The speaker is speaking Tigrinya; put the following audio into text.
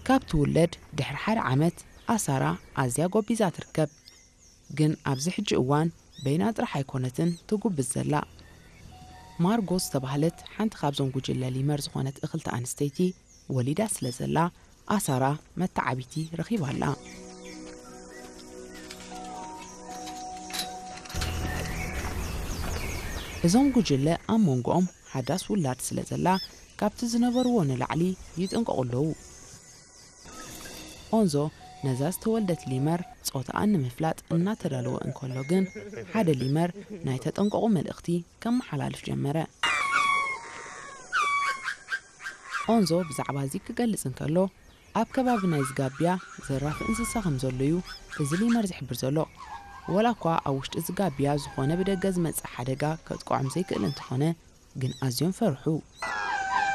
ካብ ትውለድ ድሕሪ ሓደ ዓመት ኣሳራ ኣዝያ ጎቢዛ ትርከብ። ግን ኣብዚ ሕጂ እዋን በይና ጥራሕ ኣይኮነትን ትጉብዝ ዘላ። ማርጎ ዝተባህለት ሓንቲ ካብዞም ጉጅለ ሊመር ዝኾነት እኽልቲ ኣንስተይቲ ወሊዳ ስለ ዘላ ኣሳራ መተዓቢቲ ረኺባ ኣላ። እዞም ጉጅለ ኣብ መንጎኦም ሓዳስ ውላድ ስለ ዘላ ካብቲ ዝነበርዎ ንላዕሊ ይጥንቀቑ ኣለዉ። ኦንዞ ነዛ ዝተወልደት ሊመር ጾታኣ ንምፍላጥ እናተዳለወ እንከሎ ግን ሓደ ሊመር ናይ ተጠንቀቑ መልእኽቲ ከመሓላልፍ ጀመረ። ኦንዞ ብዛዕባ እዚ ክገልጽ እንከሎ ኣብ ከባቢ ናይ ዝጋብያ ዘራፊ እንስሳ ከም ዘሎ እዩ እዚ ሊመር ዝሕብር ዘሎ። ወላ እኳ ኣብ ውሽጢ ዝጋብያ ዝኾነ ብደገ ዝመጽእ ሓደጋ ከጥቅዖም ዘይክእል እንተኾነ ግን ኣዝዮም ፈርሑ።